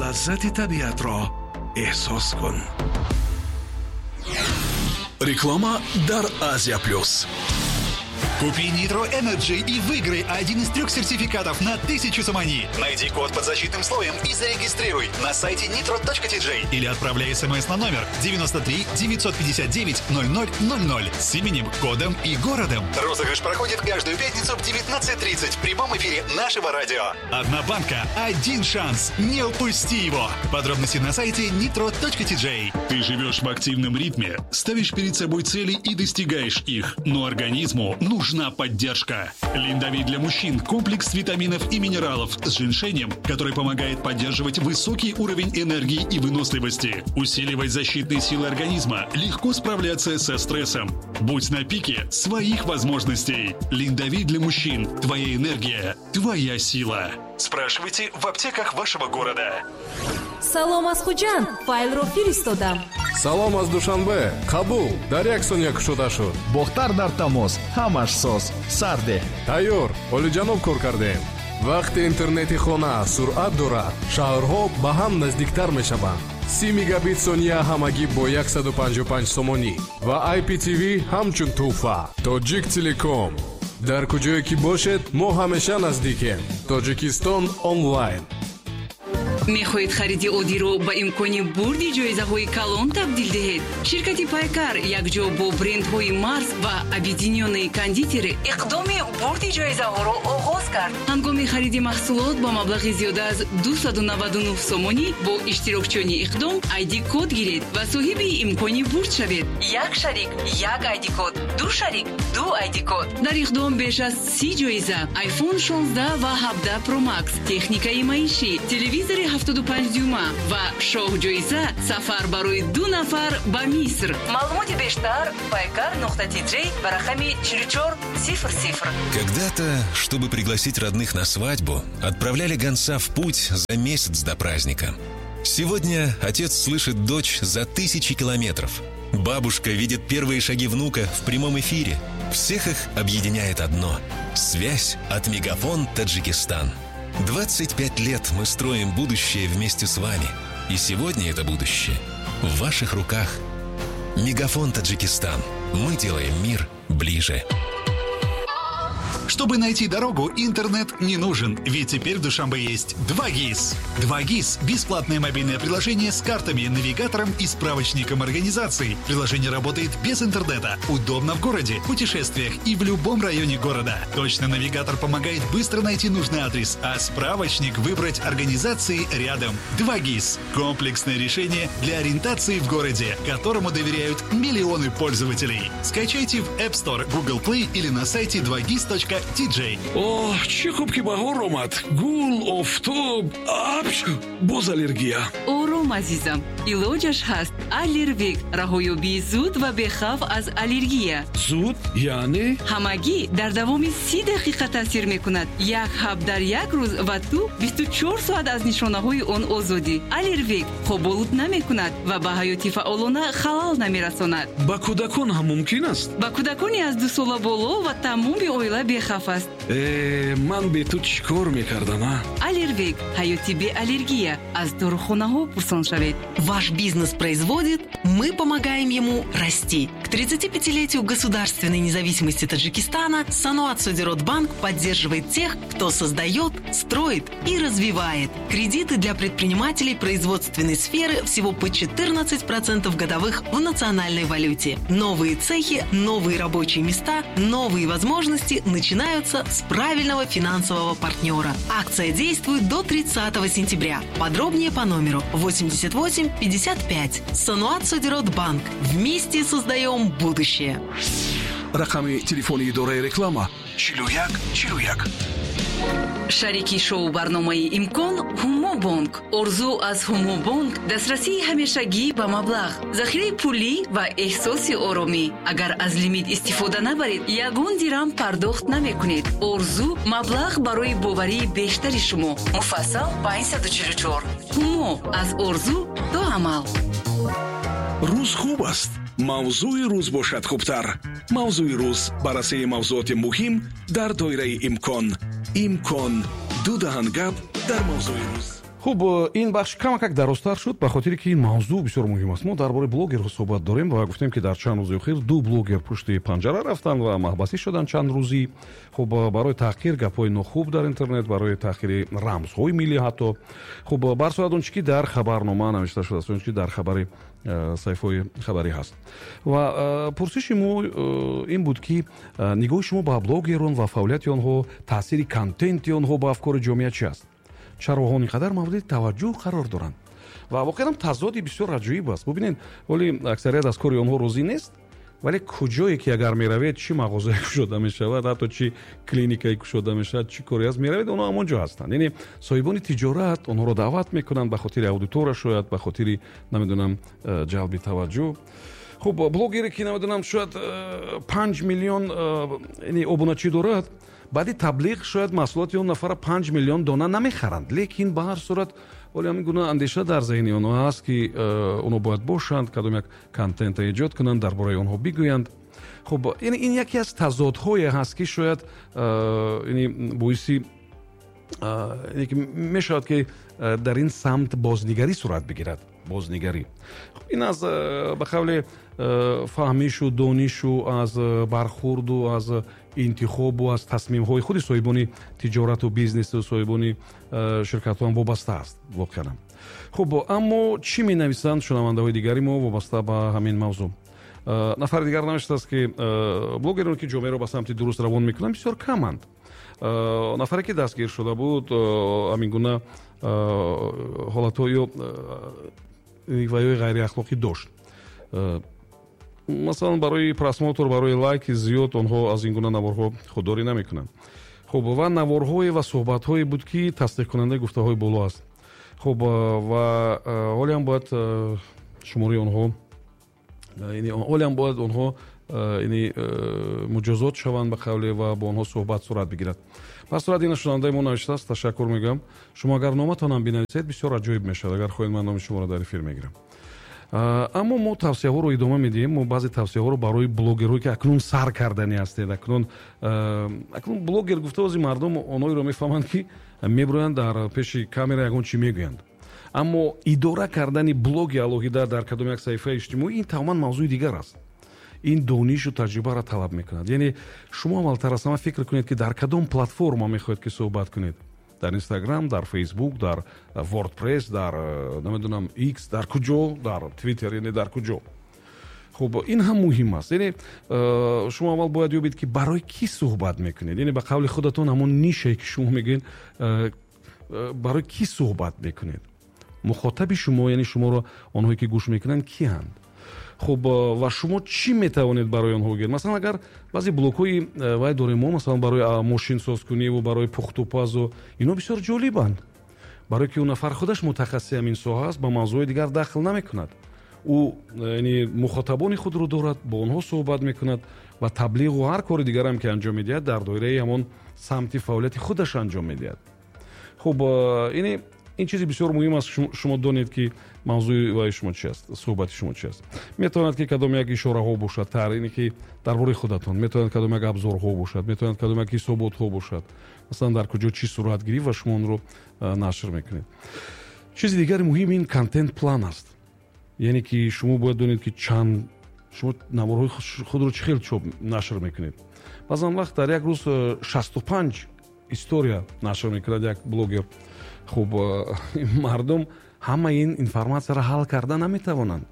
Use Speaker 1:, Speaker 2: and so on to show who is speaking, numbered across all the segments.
Speaker 1: Лаззати табиатро эҳсос кун.
Speaker 2: Реклама дар Азия Плюс.
Speaker 3: Купи Nitro Energy и выиграй один из трех сертификатов на 1000 сомони. Найди код под защитным слоем и зарегистрируй на сайте nitro.tj или отправляй смс на номер 93 959 0000 с именем, кодом и городом. Розыгрыш проходит каждую пятницу в 19:30 в прямом эфире нашего радио. Одна банка, один шанс. Не упусти его. Подробности на сайте nitro.tj.
Speaker 2: Ты живешь в активном ритме, ставишь перед собой цели и достигаешь их, но организму нужна поддержка. Линдовит для мужчин – комплекс витаминов и минералов с женьшенем, который помогает поддерживать высокий уровень энергии и выносливости, усиливать защитные силы организма, легко справляться со стрессом. Будь на пике своих возможностей. Линдовит для мужчин – твоя энергия, твоя сила. Спрашивайте в аптеках вашего города.
Speaker 4: Салом аз Хуҷанд, файлро фиристодам.
Speaker 5: Салом аз Душанбе, қабул, дар як сония кушода шуд.
Speaker 6: Бохтар дар тамос, ҳамаш соз, сарде.
Speaker 5: Тайёр, олиҷаноб кор кардем. Вақте интернети хона суръат дорад, шаҳрҳо ба ҳам наздиктар мешаванд. 30 мегабит сония ҳамагӣ бо 155 сомонӣ ва IPTV ҳамчун тӯҳфа. Тоҷик Телеком. Дар куҷое ки бошед, мо ҳамеша наздикем. Тоҷикистон онлайн.
Speaker 7: Мехоҳед хариди оддиро ба имкони бурди ҷоизаҳои калон табдил диҳед? Ширкати Пайкар якҷо бо брендҳои Марс ва Объединённые кондитеры иқдоми бурди ҷоизаҳоро оғоз кард. Ҳангоми хариди маҳсулот ба маблағи зиёда аз 299 сомонӣ бо иштирокчиёни иқдом ID код гиред ва соҳиби имкони бурд шавед. Як шарик як ID код, ду шарик ду ID код. Дар иқдом беш аз 30 ҷоиза: iPhone 16 ва 17 Pro Max, техникаи маишӣ, телевизори 75 дюйма ва шоҳҷоиза сафар барои ду нафар ба Миср. Маълумоти бештар пайкар.тj ба рақами 4400.
Speaker 8: Когда-то, чтобы пригласить родных на свадьбу, отправляли гонца в путь за месяц до праздника. Сегодня отец слышит дочь за тысячи километров. Бабушка видит первые шаги внука в прямом эфире. Всех их объединяет одно – связь от Мегафон Таджикистан. 25 лет мы строим будущее вместе с вами. И сегодня это будущее в ваших руках. Мегафон Таджикистан. Мы делаем мир ближе.
Speaker 3: Чтобы найти дорогу, интернет не нужен, ведь теперь в Душанбе есть 2ГИС. 2ГИС – бесплатное мобильное приложение с картами, навигатором и справочником организаций. Приложение работает без интернета, удобно в городе, путешествиях и в любом районе города. Точно навигатор помогает быстро найти нужный адрес, а справочник выбрать организации рядом. 2ГИС – комплексное решение для ориентации в городе, которому доверяют миллионы пользователей. Скачайте в App Store, Google Play или на сайте 2gis.tj.
Speaker 1: Оҳ, чӣ хуб, ки баҳор омад! Гул, офтоб, апч, боз аллергия.
Speaker 7: Ором, азизам, илоҷаш ҳаст. Аллервик – раҳоёбии зуд ва бехавф аз аллергия.
Speaker 1: Зуд яъне?
Speaker 7: Ҳамагӣ дар давоми 30 дақиқа таъсир мекунад. Як ҳаб дар як рӯз ва ту 24 соат аз нишонаҳои он озодӣ. Аллервик хоболуд намекунад ва ба ҳаёти фаъолона халал намерасонад.
Speaker 1: Ба кӯдакон ҳам мумкин аст?
Speaker 7: Ба кӯдакони аз 2 сола боло ва тамоми оила бехавф аст.
Speaker 1: Э, ман бе ту чӣ кор мекардам, а?
Speaker 7: Аллервик – ҳаёти беаллергия. Аз дорухонаҳо пурсон шавед.
Speaker 9: Ваш бизнес производит, мы помогаем ему расти. К 35-летию государственной независимости Таджикистана Саноат Содирот Банк поддерживает тех, кто создает, строит и развивает. Кредиты для предпринимателей производственной сферы всего по 14% годовых в национальной валюте. Новые цехи, новые рабочие места, новые возможности начинаются с правильного финансового партнера. Акция действует до 30 сентября. Подробнее по номеру 88 55. Саноат Содирот Банк. Вместе создаем будущее.
Speaker 1: Рақами телефони идораи реклама: 41 41.
Speaker 7: Шарики шоу барномаи «Имкон» Ҳумобонк. Орзу аз Ҳумобонк: дастрасии ҳамешагӣ ба маблағ, захираи пулӣ ва эҳсоси оромӣ. Агар аз лимит истифода набаред, ягон дирам пардохт намекунед. Орзу: маблағ барои боварии бештари шумо. Муфассал 544. Ҳумо: аз орзу то амал.
Speaker 1: Рӯз хуб аст, мавзӯи рӯз бошад хубтар. «Мавзӯи рӯз» – баррасии мавзӯоти муҳим дар доираи имкон. «Имкон» – ду даҳан гап дар мавзӯи рӯз. Хуб, ин бахш камакак дарозтар шуд, ба хотире ки ин мавзӯъ бисёр муҳим аст. Мо дар бораи блогерҳо суҳбат дорем ва гуфтем, ки дар чанд рӯзи охир ду блогер пушти панҷара рафтанд ва маҳбасӣ шуданд чанд рӯзӣ. Хуб, барои таҳқир гапҳои нохуб дар интернет, барои таҳқири рамзҳои миллӣ ҳатто. Хуб, бар сурат он чи ки дар хабарнома навишта шудааст, он чи ки дар хабари саҳифаҳои хабарӣ ҳаст. Ва пурсиши мо ин буд, ки нигоҳи шумо ба блогерон ва фаъолияти онҳо, таъсири контенти онҳо ба афкори ҷомеа чи аст? Чаро онҳо ин қадар мавриди таваҷҷӯҳ қарор доранд? Ва воқеан тазоди бисёр аҷоиб аст. Бубинед, вале аксарият аз кори онҳо розӣ нест, вале куҷое ки агар меравед, чӣ мағозае кушода мешавад, ҳатто чӣ клиникае кушода мешавад, чӣ коре аст, меравед, онҳо ҳамон ҷо ҳастанд. Яъне соҳибони тиҷорат онҳоро даъват мекунанд ба хотири аудитория, шояд ба хотири, намедонам, ҷалби таваҷҷӯҳ. Хуб, блогере ки, намедонам, шояд 5 миллион обуначӣ дорад, баъди таблиғ шояд маҳсулоти он нафара 5 миллион дона намехаранд, лекин ба ҳар сурат ҳоле ҳамин гуна андеша дар зеҳни онҳо ҳаст, ки онҳо бояд бошанд, кадом як контента эҷод кунанд, дар бораи онҳо бигӯянд. Хуб, яъне ин яке аз тазодҳое ҳаст, ки шояд яъне боиси яъне ки мешавад, ки дар ин самт бознигарӣ сурат бигирад. Бознигарӣ. Хуб, ин аз ба қавле фаҳмишу донишу, аз бархурду, аз интихобу аз тасмимҳои худи соҳибони тиҷорату бизнесу соҳибони ширкатҳо ҳам вобаста аст воқеан. Хуб, аммо чӣ менависанд шунавандаҳои дигари мо вобаста ба ҳамин мавзӯъ? Нафари дигар навиштааст, ки блогероне, ки ҷомеаро ба самти дуруст равон мекунанд, бисёр каманд. Нафаре, ки дастгир шуда буд, ҳамин гуна ҳолатҳо ё ваёи ғайриахлоқӣ дошт. Масалан, барои просмотр, барои лайки зиёд онҳо аз ин гуна наворҳо худдорӣ намекунанд. Хуб, ва наворҳое ва суҳбатҳое буд, ки тасдиқкунандаи гуфтаҳои боло аст. Хуб, ва ҳоле ҳам бояд шумораи онҳо, яъне ҳоле ҳам бояд онҳо, яъне муҷозот шаванд ба қавле ва бо онҳо суҳбат сурат бигирад. Пас сурат ин шунавандаи мо навиштааст, ташаккур мегӯям. Шумо агар номатонам бинависед, бисёр аҷоиб мешавад. Агар хоҳед, ман номи шуморо дар эфир мегирам. Аммо мо тавсияҳоро идома медиҳем. Мо баъзе тавсияҳоро барои блогерҳое, ки акнун сар кардани ҳастед, акнун блогер гуфта баъзе мардум онҳоеро мефаҳманд, ки мебироянд дар пеши камера ягон чӣ мегӯянд. Аммо идора кардани блоги алоҳида дар кадом як саҳифаи иҷтимоӣ ин тамоман мавзӯи дигар аст. Ин донишу таҷрибаро талаб мекунад. Яъне шумо аввалтар аз ҳама фикр кунед, ки дар кадом платформа мехоҳед, ки суҳбат кунед. Дар Инстаграм, дар Фейсбук, дар WordPress, дар, намедонам, X, дар куҷо, дар Twitter, яъне дар куҷо. Хуб, ин ҳам муҳим аст. Яъне шумо аввал бояд ёбед, ки барои кӣ суҳбат мекунед. Яъне ба қавли худатон ҳамон нишае, ки шумо мегӯед, барои кӣ суҳбат мекунед. Мухотаби шумо, яъне шуморо онҳое, ки гӯш мекунанд, кианд? Хуб, ва шумо чӣ метавонед барои онҳо гӯед? Масалан, агар баъзе блогҳои вай дорем мо, масалан, барои мошинсозкунӣ ва барои пухтупазу, ино бисёр ҷолибанд. Барои ки он нафар худаш мутахассиси ҳамин соҳа аст, ба мавзӯи дигар дахл намекунад. Ӯ, яъне, мухотабони худро дорад, бо онҳо суҳбат мекунад ва таблиғу ҳар кори дигарам, ки анҷом медиҳад, дар доираи ҳамон самти фаъолияти худаш анҷом медиҳад. Хуб, яъне ин чизи бисёр муҳим аст, шумо донед, ки мавзӯи ваи шумо чи аст, суҳбати шумо чи аст. Метавонад, ки кадом як ишораҳо бошад, тарине ки дар бораи худатон, метавонад кадом як абзорҳо бошад, метавонад кадом як ҳисоботҳо бошад. Масалан, дар куҷо чӣ сурат гирифт ва шумо онро нашр мекунед. Чизи дигари муҳим ин контент план аст. Яъне ки шумо бояд донед, ки чанд шумо наворҳои худро чӣ хел чоп нашр мекунед. Баъзан вақт дар як рӯз 65 история нашр мекунад як блогер. Хуб, мардум ҳама ин информатсияро ҳал карда наметавонанд.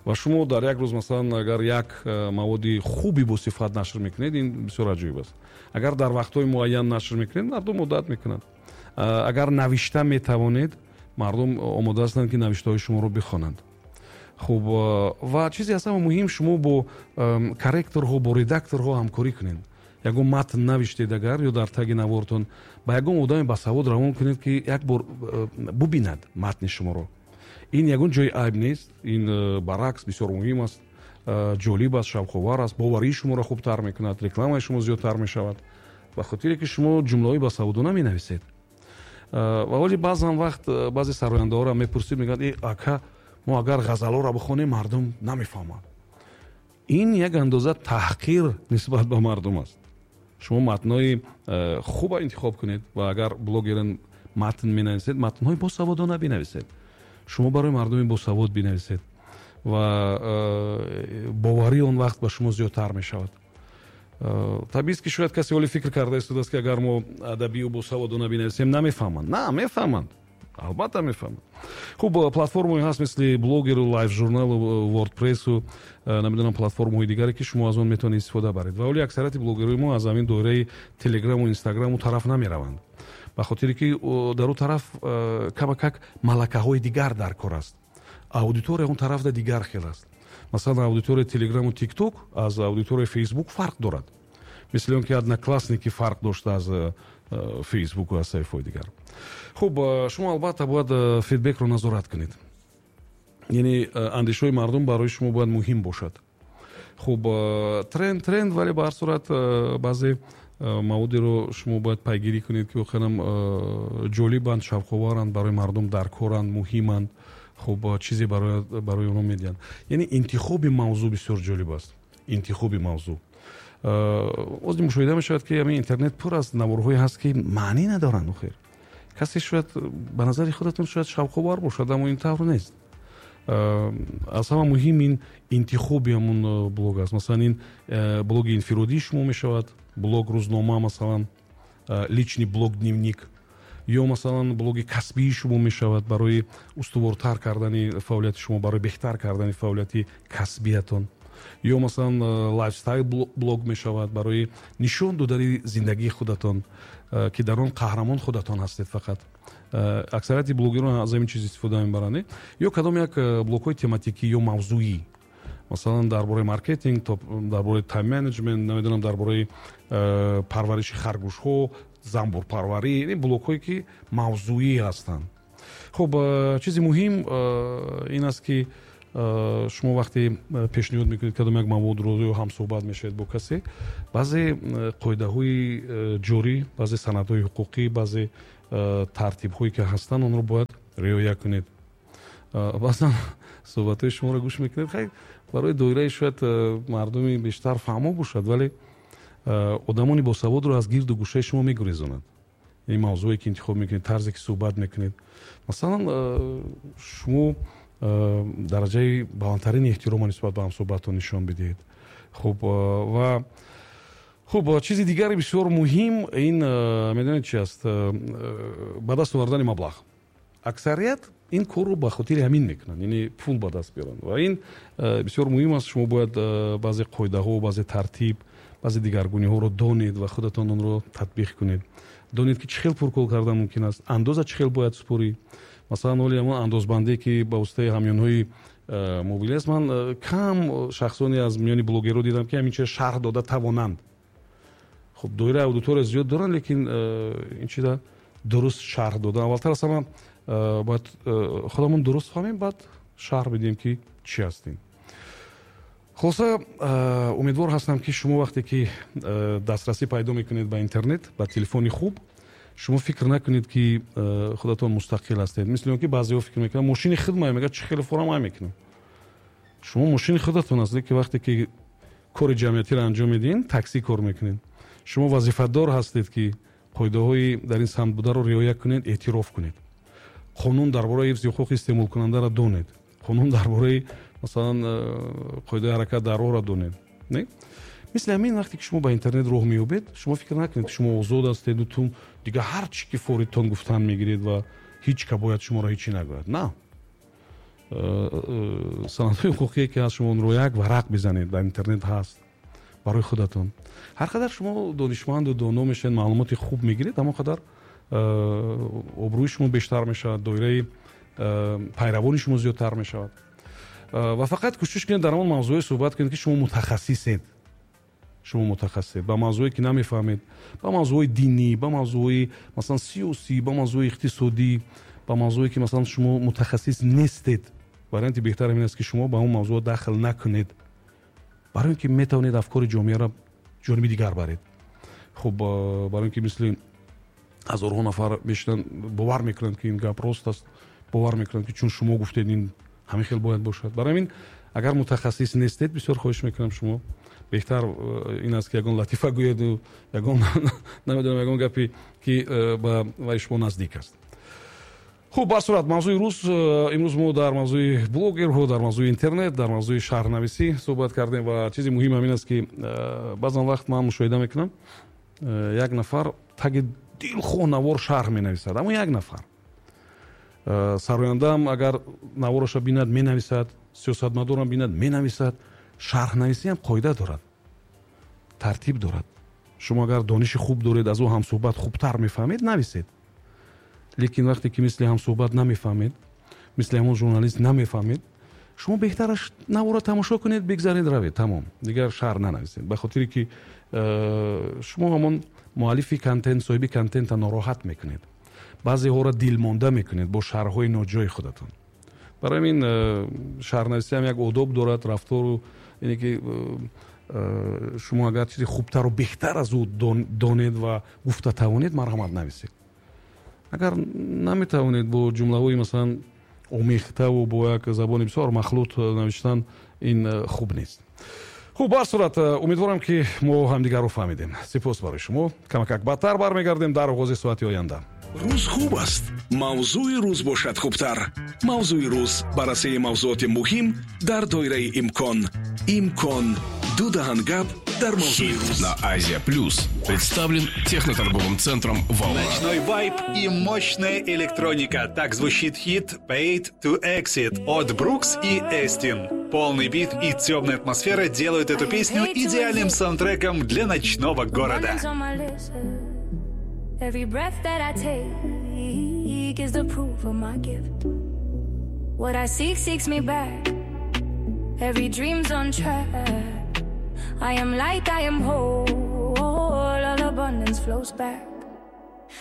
Speaker 1: Ва шумо дар як рӯз, масалан, агар як маводи хуби босифат нашр мекунед, ин бисёр аҷоиб аст. Агар дар вақтҳои муайян нашр мекунед, мардум одат мекунанд. Агар навишта метавонед, мардум омода ҳастанд, ки навиштаҳои шуморо бихонанд. Хуб, ва чизе аз ҳама муҳим, шумо бо корректорҳо, бо редакторҳо ҳамкорӣ кунед. Ягон матн навиштед агар ё дар таги навортон, ба ягон одаме басавод равон кунед, ки як бор бубинад матни шуморо. Ин ягон ҷои айб нест, ин баръакс бисёр муҳим аст, ҷолиб аст, шавқовар аст, боварии шуморо хубтар мекунад, рекламаи шумо зиёдтар мешавад, ба хотире ки шумо ҷумлаҳои басаводона менависед. Ва ҳоли баъзан вақт баъзе сарояндаҳоро мепурсид, мегӯянд: э, ака, мо агар ғазалҳоро бихонем, мардум намефаҳмад. Ин як андоза таҳқир нисбат ба мардум аст. Шумо матнҳои хуба интихоб кунед ва агар блогерен, Матн менависед, матнҳои босаводона бинависед. Шумо барои мардуми босавод бинависед ва боварии он вақт ба шумо зиёдтар мешавад. Табиист, ки шояд касе ҳоле фикр карда истодааст, ки агар мо адабию босаводона бинависем, намефаҳманд. На, мефаҳманд, албатта мефаҳманд. Хуб, платформаҳое ҳаст, мисли Блогеру, Лайф Журналу, Вордпрессу, намедонам, платформаҳои дигаре, ки шумо аз он метавонед истифода баред. Ва ҳоли аксарияти блогерҳои мо аз ҳамин доираи Телеграму Инстаграму тараф намераванд, ба хотире ки дар ӯ тараф камакак малакаҳои дигар дар кор аст, аудитория он тарафда дигар хел аст. Масалан, аудиторияи Телеграму Тикток аз аудиторияи Фейсбук фарқ дорад, мисли он ки Одноклассники фарқ дошта аз Фейсбуку аз саҳифаҳои дигар. Хуб, шумо албатта бояд фидбекро назорат кунед, яъне андешаҳои мардум барои шумо бояд муҳим бошад. Хуб, тренд тренд, вале ба ҳар сурат баъзе маводеро шумо бояд пайгирӣ кунед, ки воқеанам ҷолибанд, шавқоваранд, барои мардум даркоранд, муҳиманд, хуб, чизе барои онҳо медиҳанд. Яъне интихоби мавзӯъ бисёр ҷолиб аст, интихоби мавзӯъ. Ози мушоҳида мешавад, ки ҳамин интернет пур аз наворҳое ҳаст, ки маънӣ надоранд. Охир касе шояд ба назари худатон шояд шавқовар бошад, аммо ин тавр нест. Аз ҳама муҳим ин интихоби ҳамун блог аст. Масалан, ин блоги инфиродии шумо мешавад, блог рӯзнома, масалан, личный блог, дневник, ё масалан блоги касбии шумо мешавад барои устувортар кардани фаъолияти шумо, барои беҳтар кардани фаъолияти касбиятон, ё масалан лайфстайл блог мешавад барои нишон додани зиндагии худатон, ки дар он қаҳрамон худатон ҳастед фақат. Аксарияти блогерон аз ҳамин чиз истифода мебаранд. Ё кадом як блогҳои тематикӣ ё мавзӯӣ, масалан, дар бораи маркетинг, дар бораи тайм менеҷмент, намедонам, дар бораи парвариши харгӯшҳо, замбурпарварӣ, ин блогҳое, ки мавзӯӣ ҳастанд. Хуб, чизи муҳим ин аст, ки шумо вақте пешниҳод мекунед кадом як маводро ё ҳамсӯҳбат мешавед бо касе, баъзе қоидаҳои ҷорӣ, баъзе санадҳои ҳуқуқӣ, баъзе тартибҳое, ки ҳастанд, онро бояд риоя кунед. Баъзан суҳбатҳои шуморо гӯш мекунед, хай, барои доираи шояд мардуми бештар фаҳмо бошад, вале одамони босаводро аз гирду гӯшаи шумо мегурезонад ин мавзӯе, ки интихоб мекунед, тарзе, ки суҳбат мекунед. Масалан, шумо дараҷаи баландтарини эҳтирома нисбат ба ҳамсӯҳбатон нишон бидиҳед. Хуб, ва хуб, чизи дигари бисёр муҳим ин медонед чи аст? Ба даст овардани маблағ. Аксарият ин корро ба хотири ҳамин мекунанд, яъне пул ба даст биёранд, ва ин бисёр муҳим аст. Шумо бояд баъзе қоидаҳо, баъзе тартиб, баъзе дигаргуниҳоро донед ва худатон онро татбиқ кунед. Донед, ки чӣ хел пуркор кардан мумкин аст, андоза чӣ хел бояд супорӣ. Масалан, ҳоли ҳамон андозбандие, ки ба воситаи ҳамёнҳои мобилӣ аст, ман кам шахсоне аз миёни блогерҳо дидам, ки ҳамин чиз шарҳ дода тавонанд. Хуб, доираи аудитория зиёд доранд, лекин ин чиза дуруст шарҳ додан, аввалтар аз ҳама бояд худамон дуруст фаҳмем, баъд шарҳ бидиҳем, ки чӣ ҳастем. Хулоса, умедвор ҳастам, ки шумо вақте ки дастрасӣ пайдо мекунед ба интернет, ба телефони хуб, шумо фикр накунед, ки худатон мустақил ҳастед, мисли он ки баъзеҳо фикр мекунанд, мошини худ мега, чӣ хеле форам ай мекунам. Шумо мошини худатон аст, лекин вақте ки кори ҷамъиятиро анҷом медиҳед, таксӣ кор мекунед, шумо вазифадор ҳастед, ки қоидаҳои дар ин самт бударо риоя кунед, эътироф кунед, қонун дар бораи ҳифзи ҳуқуқи истеъмолкунандаро донед, қонун дар бораи, масалан, қоидаи ҳаракат дар роҳро донед. Не, мисли ҳамин, вақте ки шумо ба интернет роҳ меёбед, шумо фикр накунед, ки шумо озод ҳастеду ту дигар ҳар чӣ ки форидтон гуфтан мегиред ва ҳеҷ ка бояд шуморо ҳечӣ нагӯяд. На, санадҳои ҳуқуқие, ки ҳаст, шумо онро як варақ бизанед, дар интернет ҳаст барои худатон. Ҳар қадар шумо донишманду доно мешавед, маълумоти хуб мегиред, ҳамон қадар обрӯи шумо бештар мешавад, доираи пайравони шумо зиёдтар мешавад. Ва фақат кӯшиш кунед, дар он мавзӯе суҳбат кунед, ки шумо мутахассисед. Шумо мутахассисед. Ба мавзӯе, ки намефаҳмед, ба мавзӯҳои динӣ, ба мавзӯҳои, масалан, сиёсӣ, ба мавзӯи иқтисодӣ, ба мавзӯе, ки, масалан, шумо мутахассис нестед, варианти беҳтар ин аст, ки шумо ба он мавзӯъ дахл накунед, барои ин ки метавонед афкори ҷомеаро ҷониби дигар баред. Хуб, барои ин ки мисли ҳазорҳо нафар мешинанд, бовар мекунанд, ки ин гап рост аст, бовар мекунанд, ки чун шумо гуфтед, ин ҳамин хел бояд бошад. Барои ҳамин, агар мутахассис нестед, бисёр хоҳиш мекунам, шумо Беҳтар ин аст, ки ягон латифа гӯеду, ягон, намедонам, ягон гапе, ки ба вай шумо наздик аст. Хуб, ба сурат, мавзӯи рӯз. Имрӯз мо дар мавзӯи блогерҳо, дар мавзӯи интернет, дар мавзӯи шарҳнависӣ суҳбат кардем. Ва чизи муҳим ҳамин аст, ки баъзан вақт ман мушоҳида мекунам, як нафар таги дилхоҳ навор шарҳ менависад. Аммо як нафар сарояндаам агар навораша бинад, менависад, сиёсатмадорам бинад, менависад. Шарҳнависиам қоида дорад, тартиб дорад. Шумо агар дониши хуб доред, аз ӯ ҳамсуҳбат хубтар мефаҳмед, нависед. Лекин вақте ки мисли ҳамсуҳбат намефаҳмед, мисли ҳамон журналист намефаҳмед, шумо беҳтараш навора тамошо кунед, бигзаред, равед, тамом, дигар шарҳ нанависед, ба хотире ки шумо ҳамон муаллифи контент, соҳиби контента нороҳат мекунед, баъзеҳоро дилмонда мекунед бо шарҳҳои ноҷои худатон. Барои ҳамин шарҳнависиам як одоб дорад, рафтору ине ки шумо агар чизи хубтару беҳтар аз ӯ донед ва гуфта тавонед, марҳамат, нависед. Агар наметавонед, бо ҷумлаҳои, масалан, омехтаву бо як забони бисёр махлут навиштан, ин хуб нест. Хуб, ба ҳар сурат, умедворам, ки мо ҳамдигарро фаҳмидем. Сипос барои шумо. Камакак баъдтар бармегардем, дар оғози соати оянда.
Speaker 2: Рӯз хуб аст, мавзӯи рӯз бошад хубтар. Мавзӯи рӯз: баррасии мавзӯоти муҳим дар доираи имкон. Имкон ду даҳан гап дар мавзӯи рӯз.
Speaker 10: На Азия Плюс представлен техноторговым центром «Волна».
Speaker 3: Ночной вайб и мощная электроника. Так звучит хит Paid to Exit от Брукс и Эстин. Полный бит и темная атмосфера делают эту песню идеальным саундтреком для ночного города.
Speaker 11: Every breath that I take is the proof of my gift. What I seek seeks me back. Every dream's on track. I am light, I am whole. All abundance flows back.